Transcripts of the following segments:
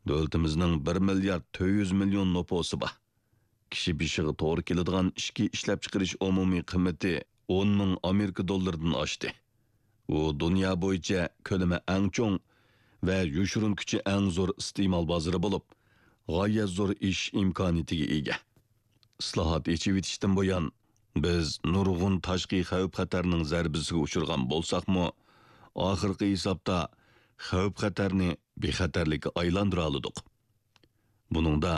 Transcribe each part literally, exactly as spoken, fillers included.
دۆلىتىمىزنىڭ بىر مىليارد تۆت يۈز مىليون نوپۇسى بار. كىشى بېشىغا توغرا كېلىدىغان ئىچكى ئىشلەپچىقىرىش ئومۇمىي قىممىتى ئون مىڭ ئامېرىكا دوللىرىدىن ئاشتى. ئۇ دۇنيا بويىچە كۆلىمى ئەڭ چوڭ ۋە يوشۇرۇن كۈچى ئەڭ زور ئىستېمال بازىرى بولۇپ، غايەت زور ئېشىش ئىمكانىيىتىگە ئىگە. ئىسلاھات، ئېچىۋېتىشتىن بۇيان، بىز نۇرغۇن تاشقى خەۋپ-خەتەرنىڭ زەربىسىگە ئۇچرىغان بولساقمۇ، ئاخىرقى ھېسابتا خەۋپ-خەتەرنى بىخەتەرلىككە ئايلاندۇرالىدۇق. بۇنىڭدا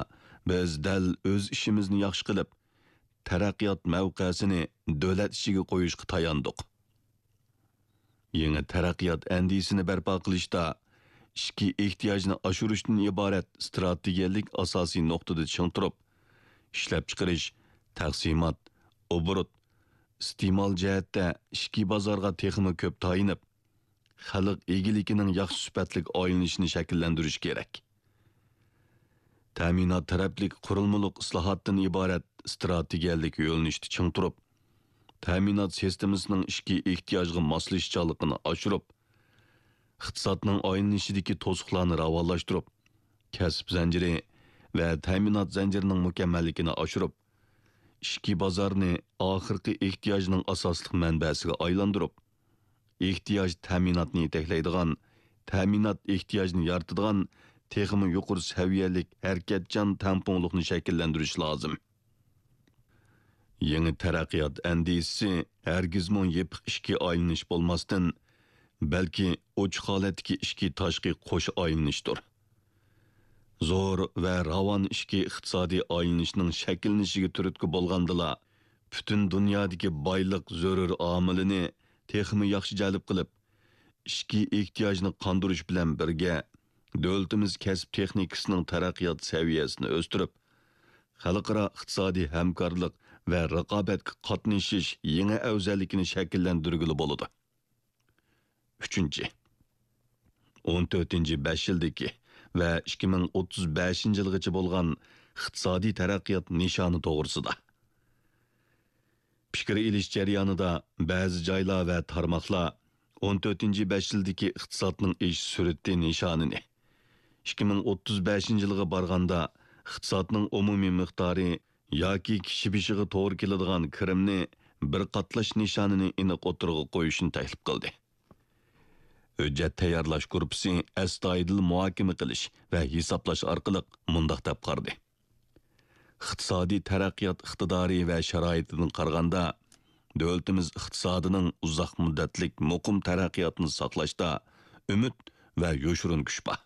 بىز دەل ئۆز ئىشىمىزنى ياخشى قىلىپ، تەرەققىيات مەۋقەسىنى دۆلەت ئىچىگە قويۇشقا تاياندۇق. يېڭى تەرەققىيات ئەندىزىسىنى بەرپا قىلىشتا ئىچكى ئېھتىياجنى ئاشۇرۇشتىن ئىبارەت ئىستراتېگىيەلىك ئاساسىي نۇقتىدا چىڭ تۇرۇپ، ئىشلەپچىقىرىش، تەقسىمات، ئوبوروت، ئىستېمال جەھەتتە ئىچكى بازارغا تېخىمۇ كۆپ تايىنىپ، خەلق ئىگىلىكىنىڭ ياخشى سۈپەتلىك ئايلىنىشىنى شەكىللەندۈرۈش كېرەك. تەمىنات تەرەپلىك قۇرۇلمىلىق ئىسلاھاتتىن ئىبارەت ئىستراتېگىيەلىك يۆنىلىشتە چىڭ تۇرۇپ، تەمىنات سىستېمىسىنىڭ ئىچكى ئېھتىياجغا ماسلىشىشچانلىقىنى ئاشۇرۇپ، ئىقتىسادنىڭ ئايلىنىشىدىكى توسۇقلارنى راۋانلاشتۇرۇپ، كەسىپ زەنجىرى ۋە تەمىنات زەنجىرىنىڭ مۇكەممەللىكىنى ئاشۇرۇپ، ئىچكى بازارنى ئاخىرقى ئېھتىياجنىڭ ئاساسلىق مەنبەسىگە ئايلاندۇرۇپ، ئېھتىياج تەمىناتنى يېتەكلەيدىغان، تەمىنات ئېھتىياجنى يارىتىدىغان تېخىمۇ يۇقىرى سەۋىيەلىك ھەرىكەتچان تەڭپۇڭلۇقنى شەكىللەندۈرۈش لازىم. يېڭى تەرەققىيات ئەندىزىسى ھەرگىزمۇ يېپىق ئىشىككە ئايلىنىش بولماستىن، بەلكى ئوچۇق ھالەتتىكى ئىچكى تاشقى قوش ئايلىنىشتۇر. زور ۋە راۋان ئىچكى ئىقتىسادىي ئايلىنىشنىڭ شەكىللىنىشىگە تۈرتكە بولغاندىلا، پۈتۈن دۇنيادىكى بايلىق زۆرۈر ئامىلىنى تېخىمۇ ياخشى جەلپ قىلىپ، ئىچكى ئېھتىياجنى قاندۇرۇش بىلەن بىرگە، دۆلىتىمىز كەسىپ تېخنىكىسىنىڭ تەرەققىيات سەۋىيەسىنى ئۆستۈرۈپ، خەلقئارا ئىقتىسادىي ھەمكارلىق ۋە رىقابەتكە قاتنىشىش يېڭى ئەۋزەللىكىنى شەكىللەندۈرگىلى بولىدۇ. ئۈچىنچى، ئون تۆتىنچى بەش يىلدىكى ۋە ئىككى مىڭ ئوتتۇز بەشىنچى يىلغىچە بولغان ئىقتىسادىي تەرەققىيات نىشانى توغرىسىدا. پىكىر ئېلىش جەريانىدا بەزى جايلار ۋە تارماقلار ئون تۆتىنچى بەش يىلدىكى ئىقتىسادنىڭ ئېشىش سۈرئىتى نىشانىنى، ئىككى مىڭ ئوتتۇز بەشىنچى يىلغا بارغاندا ئىقتىسادنىڭ ئومۇمىي مىقدارى ياكى كىشى بېشىغا توغرا كېلىدىغان كىرىمنى بىر قاتلاش نىشانىنى ئېنىق ئوتتۇرىغا قويۇشنى تەكلىپ قىلدى. ھۆججەت تەييارلاش گۇرۇپپىسى ئەستايىدىل مۇھاكىمە قىلىش ۋە ھېسابلاش ئارقىلىق مۇنداق دەپ قارىدى: ئىقتىسادىي تەرەققىيات ئىقتىدارى ۋە شارائىتىدىن قارىغاندا، دۆلىتىمىز ئىقتىسادىنىڭ ئۇزاق مۇددەتلىك مۇقىم تەرەققىياتىنى ساقلاشتا ئۈمىد ۋە يوشۇرۇن كۈچ بار.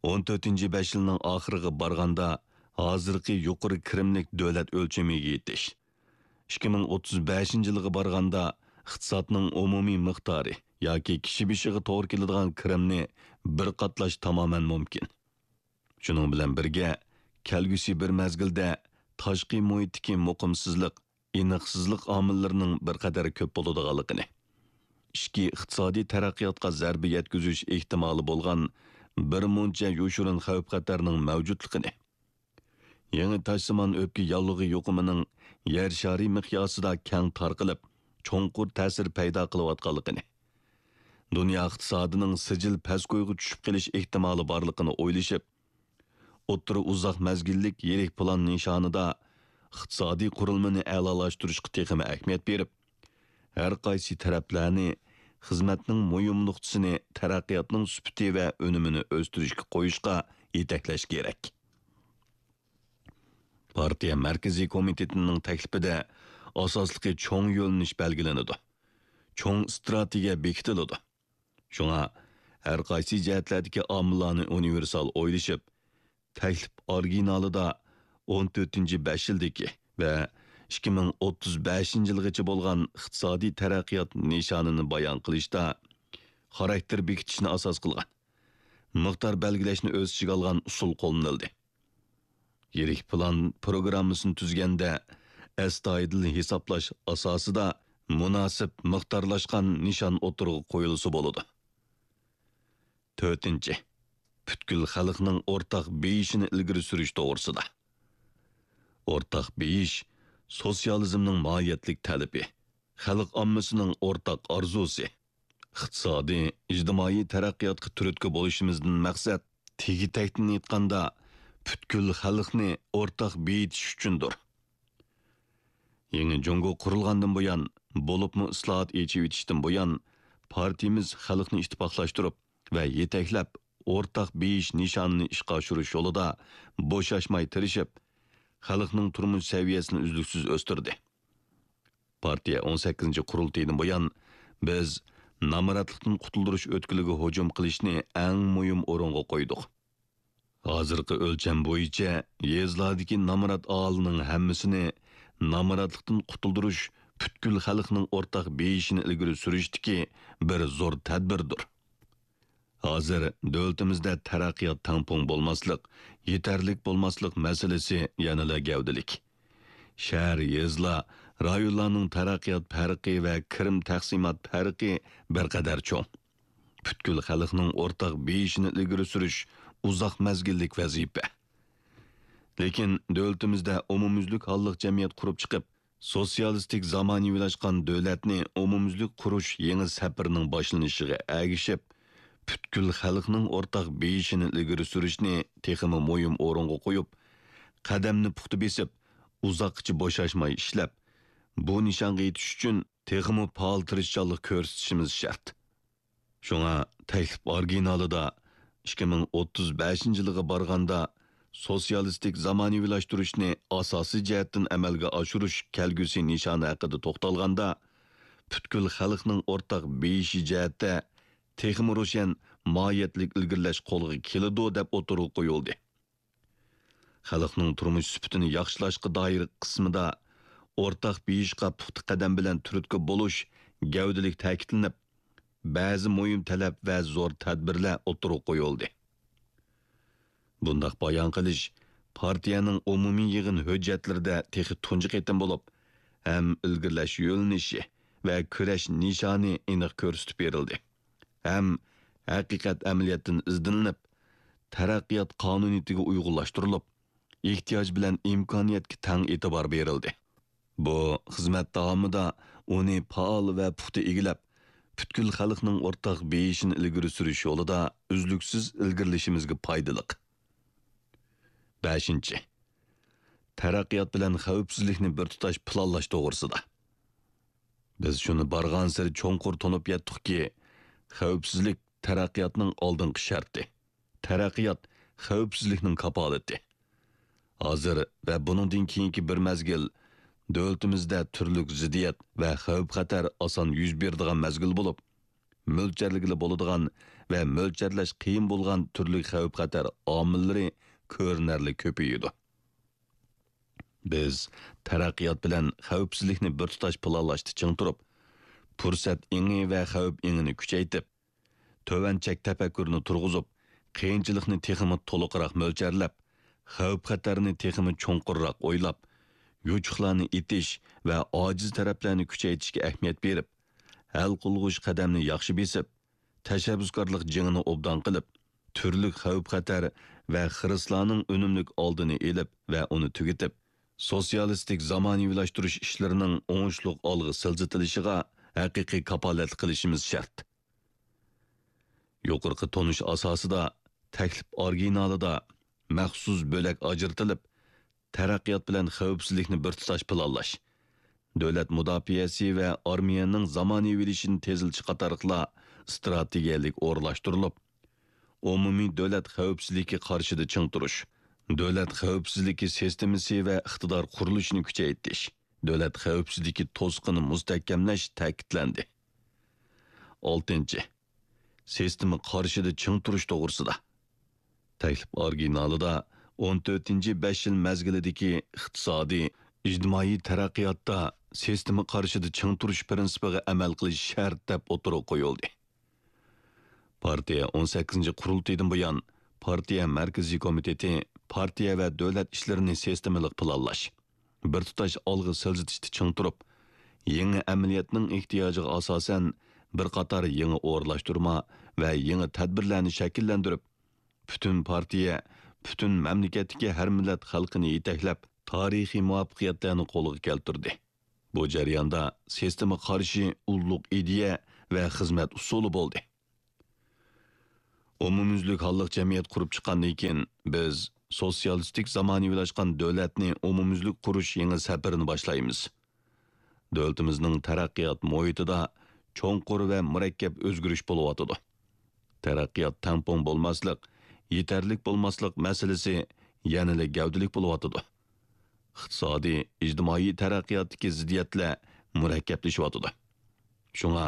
ئون تۆتىنچى بەش يىلنىڭ ئاخىرىغا بارغاندا، ھازىرقى يۇقىرى كىرىملىك دۆلەت ئۆلچىمىگە يېتىش، ئىككى مىڭ ئوتتۇز بەشىنچى يىلغا بارغاندا، ئىقتىسادنىڭ ئومۇمىي مىقدارى ياكى كىشى بېشىغا توغرا كېلىدىغان كىرىمنى بىر قاتلاش تامامەن مۇمكىن. شۇنىڭ بىلەن بىرگە، كەلگۈسى بىر مەزگىلدە تاشقى مۇھىتتىكى مۇقىمسىزلىق، ئېنىقسىزلىق ئامىللىرىنىڭ بىر قەدەر كۆپ بولىدىغانلىقىنى، ئىچكى ئىقتىسادىي تەرەققىياتقا زەربە يەتكۈزۈش ئېھتىمالى بولغان بىر مۇنچە يوشۇرۇن خەۋپ-خەتەرنىڭ مەۋجۇتلۇقىنى، يېڭى تاشسىمان ئۆپكە ياللۇغى يۇقۇمىنىڭ يەر شارى مىقياسىدا كەڭ تارقىلىپ، چوڭقۇر تەسىر پەيدا قىلىۋاتقانلىقىنى، دۇنيا ئىقتىسادىنىڭ سىجىل پەسكويغا چۈشۈپ قېلىش ئېھتىمالى بارلىقىنى ئويلىشىپ، ئوتتۇرا ئۇزاق مەزگىللىك يىرىك پىلان نىشانىدا ئىقتىسادىي قۇرۇلمىنى ئەلالاشتۇرۇشقا تېخىمۇ ئەھمىيەت بېرىپ، ھەر قايسى تەرەپلەرنى خىزمەتنىڭ مۇھىم نۇقتىسىنى تەرەققىياتنىڭ سۈپىتى ۋە ئۈنۈمىنى ئۆستۈرۈشكە قويۇشقا يېتەكلەش كېرەك. پارتىيە مەركىزىي كومىتېتىنىڭ تەكلىپىدە ئاساسلىقى چوڭ يۆنىلىش بەلگىلىنىدۇ. چوڭ ئىستراتېگىيە بېكىتىلىدۇ. شۇڭا ھەر قايسى جەھەتلەردىكى ئامىللارنى ئۇنىۋېرسال ئويلىشىپ، تەكلىپ ئورىگىنالىدا ئون تۆتىنچى بەش يىلدىكى ۋە ئىككى مىڭ ئوتتۇز بەشىنچى يىلغىچە بولغان ئىقتىسادىي تەرەققىيات نىشانىنى بايان قىلىشتا خاراكتېر بېكىتىشنى ئاساس قىلغان، مىقدار بەلگىلەشنى ئۆز ئىچىگە ئالغان ئۇسۇل قوللىنىلدى. يىرىك پىلان پىروگراممىسىنى تۈزگەندە، ئەستايىدىل ھېسابلاش ئاساسىدا مۇناسىپ مىقدارلاشقان نىشان ئوتتۇرىغا قويۇلسا بولىدۇ. تۆتىنچى، پۈتكۈل خەلقنىڭ ئورتاق بېيىشىنى ئىلگىرى سۈرۈش توغرىسىدا. ئورتاق بېيىش سوتسىيالىزمنىڭ ماھىيەتلىك تەلىپى، خەلق ئاممىسىنىڭ ئورتاق ئارزۇسى. ئىقتىسادىي، ئىجتىمائىي تەرەققىياتقا تۈرتكە بولۇشىمىزدىن مەقسەت تېگى-تەكتىنى ئېيتقاندا، پۈتكۈل خەلقنى ئورتاق بېيىتىش ئۈچۈندۇر. يېڭى جۇڭگو قۇرۇلغاندىن بۇيان، بولۇپمۇ ئىسلاھات، ئېچىۋېتىشتىن بۇيان، پارتىيىمىز خەلقنى ئىتتىپاقلاشتۇرۇپ ۋە يېتەكلەپ، ئورتاق بېيىش نىشانىنى ئىشقا ئاشۇرۇش يولىدا بوشاشماي تىرىشىپ، خەلقنىڭ تۇرمۇش سەۋىيەسىنى ئۈزلۈكسىز ئۆستۈردى. پارتىيە ئون سەككىزىنچى قۇرۇلتىيىدىن بۇيان، بىز نامراتلىقتىن قۇتۇلدۇرۇش ئۆتكىلىگە ھۇجۇم قىلىشنى ئەڭ مۇھىم ئورۇنغا قويدۇق. ھازىرقى ئۆلچەم بويىچە، يېزىلاردىكى نامرات ئاھالىنىڭ ھەممىسىنى نامراتلىقتىن قۇتۇلدۇرۇش پۈتكۈل خەلقنىڭ ئورتاق بېيىشىنى ئىلگىرى سۈرۈشتىكى بىر زور تەدبىردۇر. ھازىر دۆلىتىمىزدە تەرەققىيات تەڭپۇڭ بولماسلىق، يېتەرلىك بولماسلىق مەسىلىسى يەنىلا گەۋدىلىك. شەھەر، يېزىلار، رايونلارنىڭ تەرەققىيات پەرقى ۋە كىرىم تەقسىمات پەرقى بىر قەدەر چوڭ. پۈتكۈل خەلقنىڭ ئورتاق بېيىشىنى ئىلگىرى سۈرۈش ئۇزاق مەزگىللىك ۋەزىپە. لېكىن دۆلىتىمىزدە ئومۇميۈزلۈك ھاللىق جەمئىيەت قۇرۇپ چىقىپ، سوتسىيالىستىك زامانىۋىلاشقان دۆلەتنى ئومۇميۈزلۈك قۇرۇش يېڭى سەپىرىنىڭ باشلىنىشىغا ئەگىشىپ، پۈتكۈل خەلقنىڭ ئورتاق بېيىشىنى ئىلگىرى سۈرۈشنى تېخىمۇ مۇھىم ئورۇنغا قويۇپ، قەدەمنى پۇختا بېسىپ، ئۇزاققىچە بوشاشماي ئىشلەپ، بۇ نىشانغا يېتىش ئۈچۈن تېخىمۇ پائال تىرىشچانلىق كۆرسىتىشىمىز شەرت. شۇڭا تەكلىپ ئورىگىنالىدا ئىككى مىڭ ئوتتۇز بەشىنچى يىلىغا بارغاندا، سوتسىيالىستىك زامانىۋىلاشتۇرۇشنى ئاساسىي جەھەتتىن ئەمەلگە ئاشۇرۇش كەلگۈسى نىشانى ھەققىدە توختالغاندا، پۈتكۈل خەلقنىڭ ئورتاق بېيىشى جەھەتتە تېخىمۇ روشەن ماھىيەتلىك ئىلگىرىلەش قولغا كېلىدۇ، دەپ ئوتتۇرىغا قويۇلدى. خەلقنىڭ تۇرمۇش سۈپىتىنى ياخشىلاشقا دائىر قىسمىدا ئورتاق بېيىشقا پۇختا قەدەم بىلەن تۈرتكە بولۇش گەۋدىلىك تەكىتلىنىپ، بەزى مۇھىم تەلەپ ۋە زور تەدبىرلەر ئوتتۇرىغا قويۇلدى. بۇنداق بايان قىلىش پارتىيەنىڭ ئومۇمىي يىغىن ھۆججەتلىرىدە تېخى تۇنجى قېتىم بولۇپ، ھەم ئىلگىرىلەش يۆنىلىشى ۋە كۈرەش نىشانى ئېنىق كۆرسىتىپ بېرىلدى. ھەم ھەقىقەت ئەمەلىيەتتىن ئىزدىنىلىپ، تەرەققىيات قانۇنىيىتىگە ئۇيغۇنلاشتۇرۇلۇپ، ئېھتىياج بىلەن ئىمكانىيەتكە تەڭ ئېتىبار بېرىلدى. بۇ خىزمەت داۋامىدا ئۇنى پائال ۋە پۇختا ئىگىلەپ، پۈتكۈل خەلقنىڭ ئورتاق بېيىشىنى ئىلگىرى سۈرۈش يولىدا ئۈزلۈكسىز ئىلگىرىلىشىمىزگە پايدىلىق. بەشىنچى، تەرەققىيات بىلەن خەۋپسىزلىكنى بىر تۇتاش پىلانلاش توغرىسىدا. بىز شۇنى بارغانسېرى چوڭقۇر تونۇپ يەتتۇقكى، خەۋپسىزلىك تەرەققىياتنىڭ ئالدىنقى شەرتى. تەرەققىيات خەۋپسىزلىكنىڭ كاپالىتى. ھازىر ۋە بۇنىڭدىن كېيىنكى بىر مەزگىل دۆلىتىمىزدە تۈرلۈك زىددىيەت ۋە خەۋپ-خەتەر ئاسان يۈز بېرىدىغان مەزگىل بولۇپ، مۆلچەرلىگىلى بولىدىغان ۋە مۆلچەرلەش قىيىن بولغان تۈرلۈك خەۋپ-خەتەر ئامىللىرى كۆرۈنەرلىك كۆپىيىدۇ. بىز تەرەققىيات بىلەن خەۋپسىزلىكنى بىر تۇتاش پىلانلاشتا چىڭ تۇرۇپ، پۇرسەت ئېڭى ۋە خەۋپ ئېڭىنى كۈچەيتىپ، تۆۋەن چەك تەپەككۇرىنى تۇرغۇزۇپ، قىيىنچىلىقنى تېخىمۇ تولۇقراق مۆلچەرلەپ، خەۋپ-خەتەرنى تېخىمۇ چوڭقۇرراق ئويلاپ، يوچۇقلارنى ئېتىش ۋە ئاجىز تەرەپلەرنى كۈچەيتىشكە ئەھمىيەت بېرىپ، ھەل قىلغۇچ قەدەمنى ياخشى بېسىپ، تەشەببۇسكارلىق جېڭىنى ئوبدان قىلىپ، تۈرلۈك خەۋپ-خەتەر ۋە خىرىسلارنىڭ ئۈنۈملۈك ئالدىنى ئېلىپ ۋە ئۇنى تۈگىتىپ، سوتسىيالىستىك زامانىۋىلاشتۇرۇش ئىشلىرىنىڭ ئوڭۇشلۇق ئالغا سىلجىتىلىشىغا ھەقىقىي كاپالەتلىك قىلىشىمىز شەرت. يۇقىرىقى تونۇش ئاساسىدا تەكلىپ ئورىگىنالىدا مەخسۇس بۆلەك ئاجرىتىلىپ، تەرەققىيات بىلەن خەۋپسىزلىكنى بىر تۇتاش پىلانلاش، دۆلەت مۇداپىئەسى ۋە ئارمىيەنىڭ زامانىۋىلىشىشىنى تېزلىتىش قاتارلىقلار ئىستراتېگىيەلىك ئورۇنلاشتۇرۇلۇپ، ئومۇمىي دۆلەت خەۋپسىزلىكى قارىشىدا چىڭ تۇرۇش، دۆلەت خەۋپسىزلىكى سىستېمىسى ۋە ئىقتىدار قۇرۇلۇشىنى كۈچەيتىش، دۆلەت خەۋپسىزلىكى توسۇقىنى مۇستەھكەملەش تەكىتلەندى. ئالتىنچى، سىستېما قارىشىدا چىڭ تۇرۇش توغرىسىدا. تەكلىپ ئورىگىنالىدا ئون تۆتىنچى بەش يىل مەزگىلىدىكى ئىقتىسادىي، ئىجتىمائىي تەرەققىياتتا سىستېما قارىشىدا چىڭ تۇرۇش پىرىنسىپىغا ئەمەل قىلىش شەرت، دەپ ئوتتۇرىغا قويۇلدى. پارتىيە ئون سەككىزىنچى قۇرۇلتىيىدىن بۇيان، پارتىيە مەركىزىي كومىتېتى پارتىيە ۋە دۆلەت ئىشلىرىنى سىستېمىلىق پىلانلاش، بىر تۇتاش ئالغا سىلجىتىشتا چىڭ تۇرۇپ، يېڭى ئەمەلىيەتنىڭ ئېھتىياجىغا ئاساسەن، بىر قاتار يېڭى ئورۇنلاشتۇرما ۋە يېڭى تەدبىرلەرنى شەكىللەندۈرۈپ، پۈتۈن پارتىيە، پۈتۈن مەملىكەتتىكى ھەر مىللەت خەلقىنى يېتەكلەپ، تارىخىي مۇۋەپپەقىيەتلەرنى قولغا كەلتۈردى. بۇ جەرياندا سىستېما قارىشى ئۇللۇق ئىدىيە ۋە خىزمەت ئۇسۇلى بولدى. ئومۇميۈزلۈك ھاللىق جەمئىيەت قۇرۇپ چىققاندىن كېيىن، بىز سوتسىيالىستىك زامانىۋىلاشقان دۆلەتنى ئومۇميۈزلۈك قۇرۇش يېڭى سەپىرىنى باشلايمىز. دۆلىتىمىزنىڭ تەرەققىيات مۇھىتىدا چوڭقۇر ۋە مۇرەككەپ ئۆزگىرىش بولۇۋاتىدۇ. تەرەققىيات تەڭپۇڭ بولماسلىق، يېتەرلىك بولماسلىق مەسىلىسى يەنىلا گەۋدىلىك بولۇۋاتىدۇ. ئىقتىسادىي، ئىجتىمائىي تەرەققىياتتىكى زىددىيەتلەر مۇرەككەپلىشىۋاتىدۇ. شۇڭا،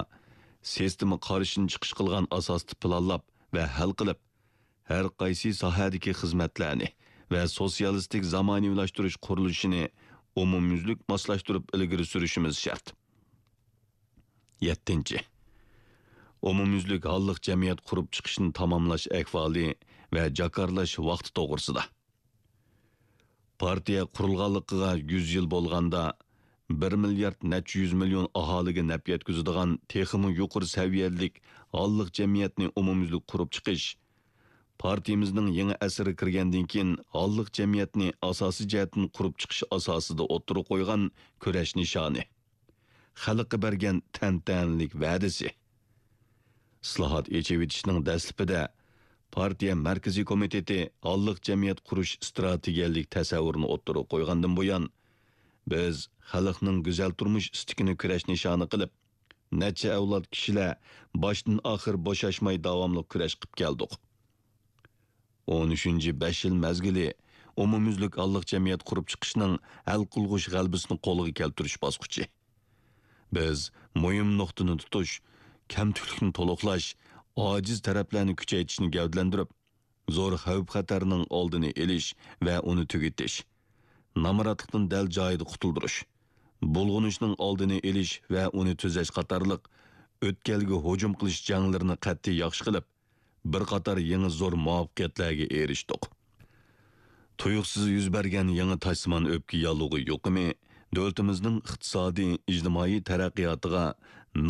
سىستېما قارىشىنى چىقىش قىلغان ئاساستا پىلانلاپ ۋە ھەل قىلىپ، ھەر قايسى ساھەدىكى خىزمەتلەرنى ۋە سوتسىيالىستىك زامانىۋىلاشتۇرۇش قۇرۇلۇشىنى ئومۇميۈزلۈك ماسلاشتۇرۇپ ئىلگىرى سۈرۈشىمىز شەرت. يەتتىنچى، ئومۇميۈزلۈك ھاللىق جەمئىيەت قۇرۇپ چىقىشنى تاماملاش ئەھۋالى ۋە جاكارلاش ۋاقتى توغرىسىدا. پارتىيە قۇرۇلغانلىقىغا يۈز يىل بولغاندا، بىر مىليارد نەچچە يۈز مىليون ئاھالىگە نەپ يەتكۈزىدىغان تېخىمۇ يۇقىرى سەۋىيەلىك ھاللىق جەمئىيەتنى ئومۇميۈزلۈك قۇرۇپ چىقىش، پارتىيىمىزنىڭ يېڭى ئەسىرگە كىرگەندىن كېيىن ھاللىق جەمئىيەتنى ئاساسىي جەھەتتىن قۇرۇپ چىقىش ئاساسىدا ئوتتۇرىغا قويغان كۈرەش نىشانى. خەلققە بەرگەن تەنتەنىلىك ۋەدىسى. ئىسلاھات، ئېچىۋېتىشنىڭ دەسلىپىدە پارتىيە مەركىزىي كومىتېتى ھاللىق جەمئىيەت قۇرۇش ئىستراتېگىيەلىك تەسەۋۋۇرىنى ئوتتۇرىغا قويغاندىن بۇيان، بىز خەلقنىڭ گۈزەل تۇرمۇش ئىستىكىنى كۈرەش نىشانى قىلىپ، نەچچە ئەۋلاد كىشىلەر باشتىن ئاخىر بوشاشماي داۋاملىق كۈرەش قىلىپ كەلدۇق. ئون ئۈچىنچى بەش يىل مەزگىلى ئومۇميۈزلۈك ھاللىق جەمئىيەت قۇرۇپ چىقىشنىڭ ھەل قىلغۇچ غەلىبىسىنى قولغا كەلتۈرۈش باسقۇچى. بىز مۇھىم نۇقتىنى تۇتۇش، كەمتۈكلۈكنى تولۇقلاش، ئاجىز تەرەپلەرنى كۈچەيتىشنى گەۋدىلەندۈرۈپ، زور خەۋپ-خەتەرنىڭ ئالدىنى ئېلىش ۋە ئۇنى تۈگىتىش، نامراتلىقتىن دەل جايىدا قۇتۇلدۇرۇش، بۇلغىنىشنىڭ ئالدىنى ئېلىش ۋە ئۇنى تۈزەش قاتارلىق ئۆتكەلگە ھۇجۇم قىلىش جەڭلىرىنى قەتئىي ياخشى قىلىپ، بىر قاتار يېڭى زور مۇۋەپپەقىيەتلەرگە ئېرىشتۇق. تۇيۇقسىز يۈز بەرگەن يېڭى تاشسىمان ئۆپكە ياللۇغى يۇقۇمى دۆلىتىمىزنىڭ ئىقتىسادىي، ئىجتىمائىي تەرەققىياتىغا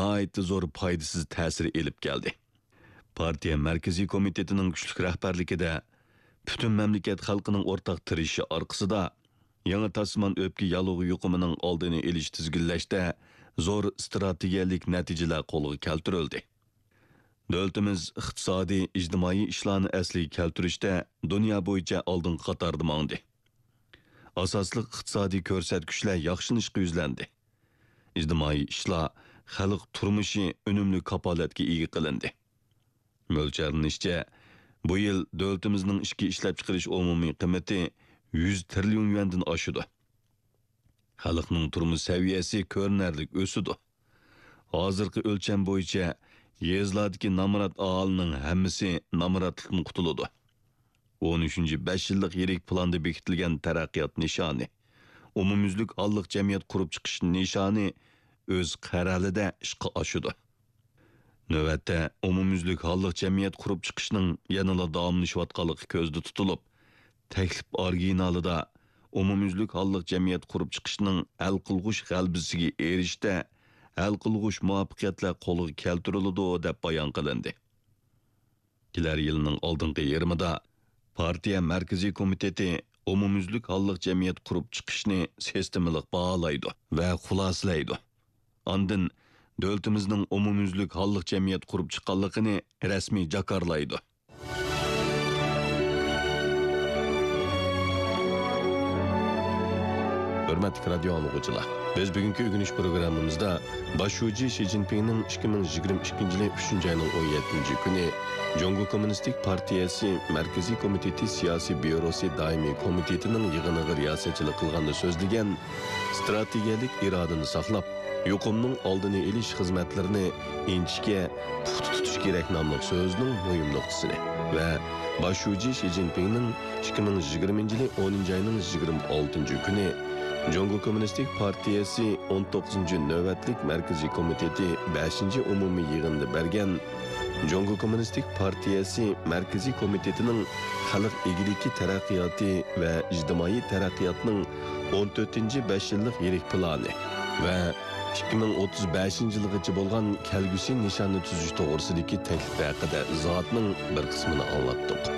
ناھايىتى زور پايدىسىز تەسىر ئېلىپ كەلدى. پارتىيە مەركىزىي كومىتېتىنىڭ كۈچلۈك رەھبەرلىكىدە پۈتۈن مەملىكەت خەلقىنىڭ ئورتاق تىرىشىشى ئارقىسىدا، يېڭى تاشسىمان ئۆپكە ياللۇغى يۇقۇمىنىڭ ئالدىنى ئېلىش، تىزگىنلەشتە زور ئىستراتېگىيەلىك نەتىجىلەر قولغا كەلتۈرۈلدى. دۆلىتىمىز ئىقتىسادىي، ئىجتىمائىي ئىشلارنى ئەسلىگە كەلتۈرۈشتە دۇنيا بويىچە ئالدىنقى قاتاردا ماڭدى. ئاساسلىق ئىقتىسادىي كۆرسەتكۈچلەر ياخشىلىنىشقا يۈزلەندى. ئىجتىمائىي ئىشلار، خەلق تۇرمۇشى ئۈنۈملۈك كاپالەتكە ئىگە قىلىندى. مۆلچەرلىنىشىچە، بۇ يىل دۆلىتىمىزنىڭ ئىچكى ئىشلەپچىقىرىش ئومۇمىي قىممىتى يۈز تىرىليون يۈەندىن ئاشىدۇ. خەلقنىڭ تۇرمۇش سەۋىيەسى كۆرۈنەرلىك ئۆسىدۇ. ھازىرقى ئۆلچەم بويىچە، يېزىلاردىكى نامرات ئاھالىنىڭ ھەممىسى نامراتلىقتىن قۇتۇلىدۇ. ئون ئۈچىنچى بەش يىللىق يىرىك پىلاندا بېكىتىلگەن تەرەققىيات نىشانى، ئومۇميۈزلۈك ھاللىق جەمئىيەت قۇرۇپ چىقىش نىشانى ئۆز قەرەلىدە ئىشقا ئاشىدۇ. نۆۋەتتە، ئومۇميۈزلۈك ھاللىق جەمئىيەت قۇرۇپ چىقىشنىڭ يەنىلا داۋاملىشىۋاتقانلىقى كۆزدە تۇتۇلۇپ، تەكلىپ ئورىگىنالىدا ئومۇميۈزلۈك ھاللىق جەمئىيەت قۇرۇپ چىقىشنىڭ ھەل قىلغۇچ غەلىبىسىگە ئېرىشىشتە ھەل قىلغۇچ مۇۋەپپەقىيەتلەر قولغا كەلتۈرۈلىدۇ، دەپ بايان قىلىندى. كېلەر يىلنىڭ ئالدىنقى يېرىمىدا پارتىيە مەركىزىي كومىتېتى ئومۇميۈزلۈك ھاللىق جەمئىيەت قۇرۇپ چىقىشنى سىستېمىلىق باھالايدۇ ۋە خۇلاسىلەيدۇ. ئاندىن دۆلىتىمىزنىڭ ئومۇميۈزلۈك ھاللىق جەمئىيەت قۇرۇپ چىققانلىقىنى رەسمىي جاكارلايدۇ. ھۆرمەتلىك رادىيو ئاڭلىغۇچىلار، بىز بۈگۈنكى ئۆگىنىش پروگراممىمىزدا باش شۇجى شى جىنپىڭنىڭ ئىككى مىڭ يىگىرمە ئىككىنچى يىلى ئۈچىنچى ئاينىڭ ئون يەتتىنچى كۈنى جۇڭگو كوممۇنىستىك پارتىيەسى مەركىزىي كومىتېتى سىياسىي بيۇروسى دائىمىي كومىتېتىنىڭ يىغىنىغا رىياسەتچىلىك قىلغاندا سۆزلىگەن، ئىستراتېگىيەلىك ئىرادىنى ساقلاپ، يۇقۇمنىڭ ئالدىنى ئېلىش خىزمەتلىرىنى ئىنچىكە، پۇختا تۇتۇش كېرەك ناملىق سۆزىنىڭ مۇھىم نۇقتىسىنى ۋە باش شۇجى شى جىنپىڭنىڭ ئىككى مىڭ يىگىرمىنچى يىلى ئونىنچى ئاينىڭ يىگىرمە ئالتىنچى كۈنى جۇڭگو كوممۇنىستىك پارتىيەسى ئون توققۇزىنچى نۆۋەتلىك مەركىزىي كومىتېتى بەشىنچى ئومۇمىي يىغىنىدا بەرگەن جۇڭگو كوممۇنىستىك پارتىيەسى مەركىزىي كومىتېتىنىڭ خەلق ئىگىلىكى تەرەققىياتى ۋە ئىجتىمائىي تەرەققىياتنىڭ ئون تۆتىنچى بەش يىللىق يىرىك پىلانى ۋە ئىككى مىڭ ئوتتۇز بەشىنچى يىلغىچە بولغان كەلگۈسى نىشاننى تۈزۈش توغرىسىدىكى تەكلىپى ھەققىدە ئىزاھاتنىڭ بىر قىسمىنى ئاڭلاتتۇق.